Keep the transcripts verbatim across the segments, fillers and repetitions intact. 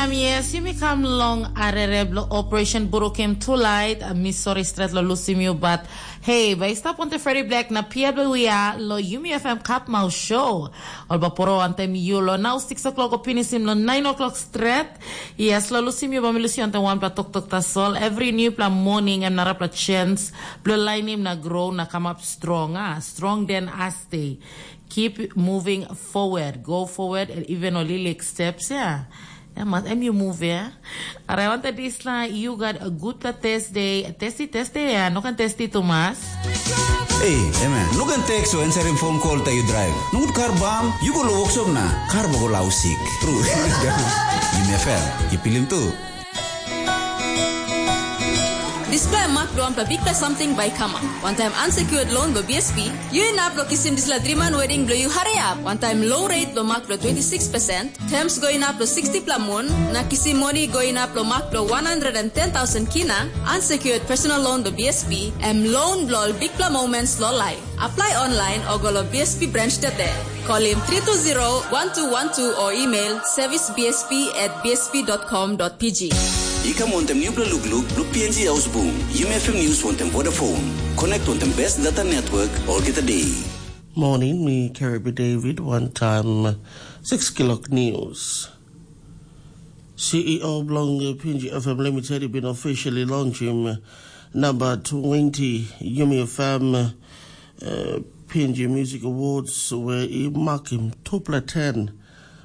Um, yes, yumi kam long arere bilong Operation Burukim Tulait. Uh, mi sori stret lo lusim yu, but hey, bai stap on the Freddy Black na P W E lo Yumi F M Katmau Show. Ol ba poro antem yu lo nau six o'clock o pinisim lo nine o'clock stret. Yes, lo lusim yu ba mi lusim antem one pla tok tok tasol. Every new pla morning em narapla chance. Blo lainim na grow na come up strong. Ah, strong then aste. Keep moving forward. Go forward and even a little steps. Yeah. Yeah, mas em you move ya. Arai wanta disla you got a good pla test day. Testi testi ya, no kan testi tu mas. Ei, emen, no kan teks o answering phone call ta you drive. Ngut kar bam, you go lo workshop na kar ba go lau sik. True. Yumi F M, you pilim tu. Dispela em mak bilong wanpela bikpela samting bai i kamap. Wantaim unsecured loan bilong B S P, yu inap long kisim dispela driman wedding bilong yu hariap. Wantaim low rate bilong mak bilong twenty six percent, terms go inap long sixty pela mun, na kisim moni go inap long mak bilong one hundred and ten thousand kina, unsecured personal loan bilong B S P, em loan bilong ol bikpela moments long life. Apply online o go long B S P branch today. Call him three two zero one two one two or email service B S P at B S P dot com dot P G. I kam wantem nupela lukluk bilong P N G Ausbung, Yumi F M News wantem Vodafone. Connect wantem best data network olgeta day. Morning, mi Karibi David, one time six kilok news. C E O bilong P N G F M Limited i bin officially launchim number twenty Yumi F M uh, P N G Music Awards where i makim tupela ten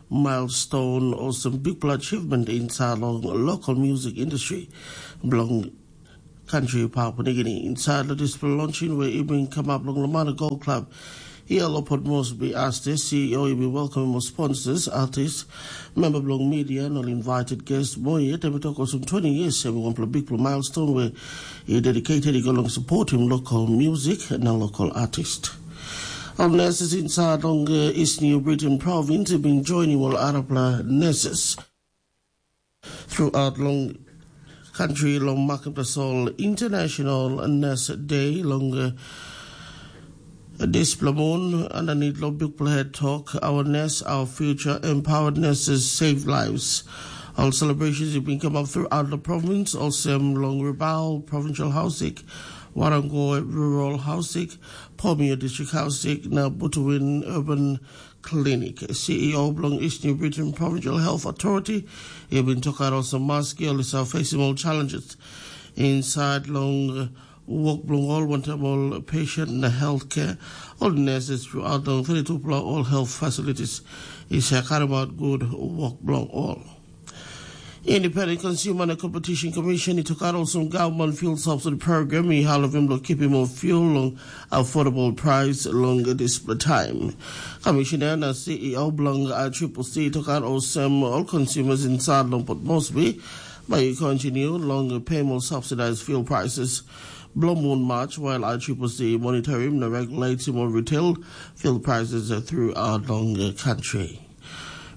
milestone olsem bikpela achievement inside long local music industry bilong country Papua New Guinea. Inside lo dispela launching where i bin come up long Lamana Gold Club, Ia lo Port Moresby as the C E O i bin welcomim ol sponsors, artists, member bilong media na ol invited guests. Mo yet em i tok olsem twenty years em i wanpela bikpela milestone where i dedicated i go long supportim local music na local artist. Ol nurses inside long uh, East New Britain province i bin joinim ol arapela nurses. Throughout long country long makim tasol International Nurse Day long uh, dispela moon underneath long bikpela head talk, our nurse, our future, empowered nurses save lives. All celebrations have been come up throughout the province, olsem long Rabaul Provincial Housing, Warango Rural Housing, Pomio District Housing, na Butuwin Urban Clinic. C E O bilong East New Britain Provincial Health Authority i bin tokaut olsem maski ol i save facing ol challenges inside long uh, work bilong ol wantaim ol patient na healthcare, ol nurses throughout long thirty-two pela ol health facilities i save karim out good work bilong ol. Independent Consumer and Competition Commission i tokaut olsem government fuel subsidy program i helpim long kipim ol fuel long affordable price long dispela time. Commissioner na C E O bilong I triple C i tokaut olsem ol consumers inside long Port Moresby bai i continue long payim ol subsidized fuel prices. Bilong mun March, while I triple C monitorim na regulatim ol retail fuel prices throughout long country.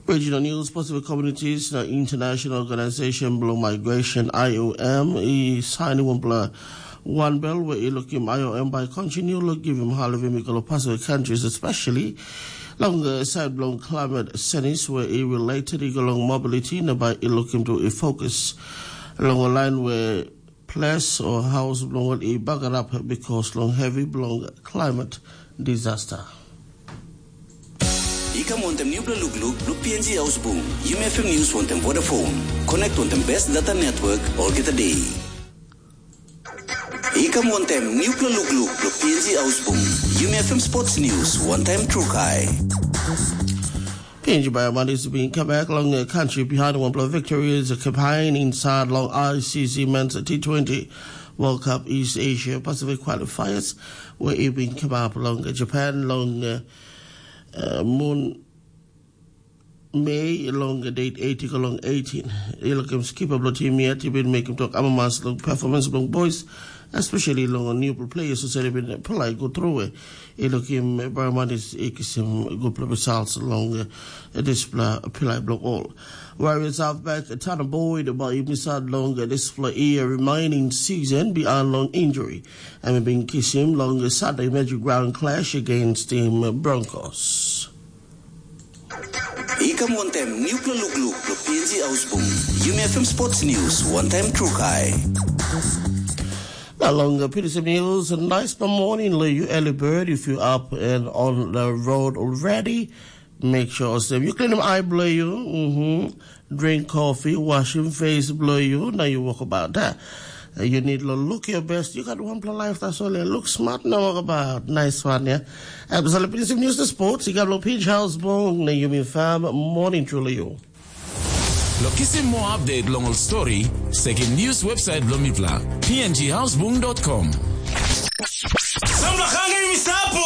Regional News, Pacific Communities na International Organization bilong Migration, I O M, i sainim wanpela wanbel where i lukim I O M bai continue lo givim halivim i go lo Pacific countries, especially long uh, side bilong climate senis where i related i go long mobility na bai i lukim tu i focus long ol line where ples o haus bilong ol i bagarap because long heavy bilong climate disaster. I kam wantem nupela lukluk bilong P N G Ausbung, Yumi F M News wantem Vodafone. Connect wantem best data network olgeta day. I kam wantem nupela lukluk bilong P N G Ausbung, Yumi F M Sports News wantem Trukai. P N G Biomandis bin come back long a country behind one blow victory is a campaign inside long I C C Men's T twenty World Cup East Asia Pacific qualifiers where it bin come up long Japan long uh, uh, moon Mei long date eighty go long eighteen. I lukim skipper bilong tim yet i bin mekim tok amamas long performance bilong boys, especially long new players who said bin play go through. I lukim Barmanis i kisim gutpela results long dispela pilai bilong all. Warriors halfback Tana Boyd bai i misat long dispela year remaining season beyond long injury. Em i bin kisim long Sunday Magic Round clash against team Broncos. I Kam wantaim nupla lukluk lo P N G Ausbung. Yumi F M Sports News, wantaim trukai. Na long uh, P D C News, a nice morning lo you early bird. If you up and on the road already, make sure so you clean them eye below you. Mm-hmm. Drink coffee, wash your face below you. Now you walk about that. Uh, You need to look your best. You got one play life, that's all. Look smart, now walk about. Nice one, yeah. Absolutely. P D C News, the sports. You got lo P N G Ausbung, na Yumi Farm, morning truly you. Lo kisim moa update long ol story, sekim news website bilong mipela, p n g housebook dot com. Samla hanga yumi sapu.